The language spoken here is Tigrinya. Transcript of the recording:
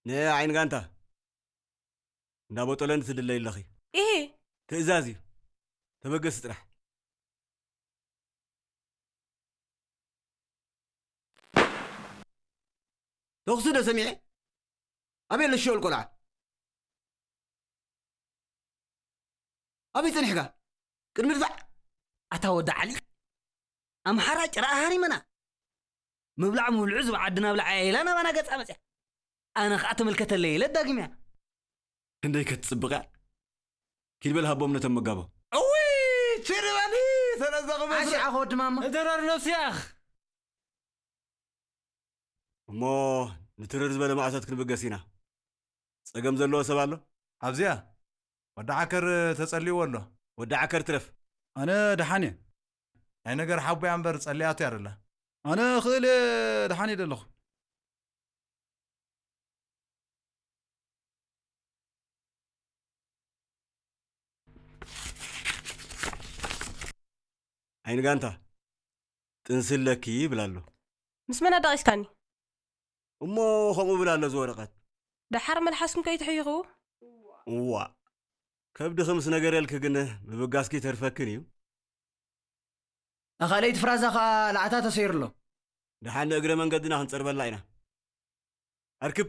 ንዓይኒ ጋንታ፣ እንዳ ቦጦለኒ ትድለይ ኣለኺ። ኢሂ። ትእዛዝ እዩ። ተበገሲ ጥራሕ። ተኹሲ ዶ ሰሚዐ? ኣበይ ኣሎ ሽወል ቆልዓ? ኣበይ ጸኒሕካ? ቅድሚ ድፋዕ! ኣታ ወዲ ዓሊ፣ ኣምሓራ ጭራኣ ሃሪመና። ምብላዕ ምብልዑ ዝብዓ ዓዲ ናብ ልዓያ ኢላ ናባና ገጻ መጽያ። ኣነ ኸኣ ተመልከተለይ ኢለ ዳግምያ። ክንደይ ከትጽብቕ እያ። ኪድ በል ሃቦም ነቶም መጋቦ። እውይ! ችሪ በሊ! ሰለዘኹም ኣሽ ኣኾ ወዲ ማማ። እደረር ነፍስያኽ! እሞ ንትርር ዝበለ ማእቶት ክንብገስ ኢና። ጸገም ዘለዎ ሰብ ኣሎ? ኣብዚኣ ወዲ ዓከር ተጸልይዎ ኣሎ። ወዲ ዓከር ትረፍ። ኣነ ደሓን እየ። ናይ ነገር ሓቦያ እምበር ጸሊያቱ እያ ደላ። ኣነ ክእል እየ፣ ደሓን እየ ደለኹ። ዓይኒ ጋንታ፣ ጥንሲ ኣለኪ ይብል ኣሎ። ምስ መን ኣዳቒስካኒ? እሞ ከምኡ ብል ኣሎ እዚ ወረቐት። ደሓር መልሓስኩም ከይትሕይኹ? እዋ፣ ከብድኺ ምስ ነገረልኪ ግን ምብጋስኪ ተርፈክን እዩ። ኣኻለይቲ ፍራዛ ኸኣ ላዕታ ተሰይሩ ኣሎ። ደሓን ንእግረ መንገድና ክንጸርበላ ኢና። ኣርክብ፣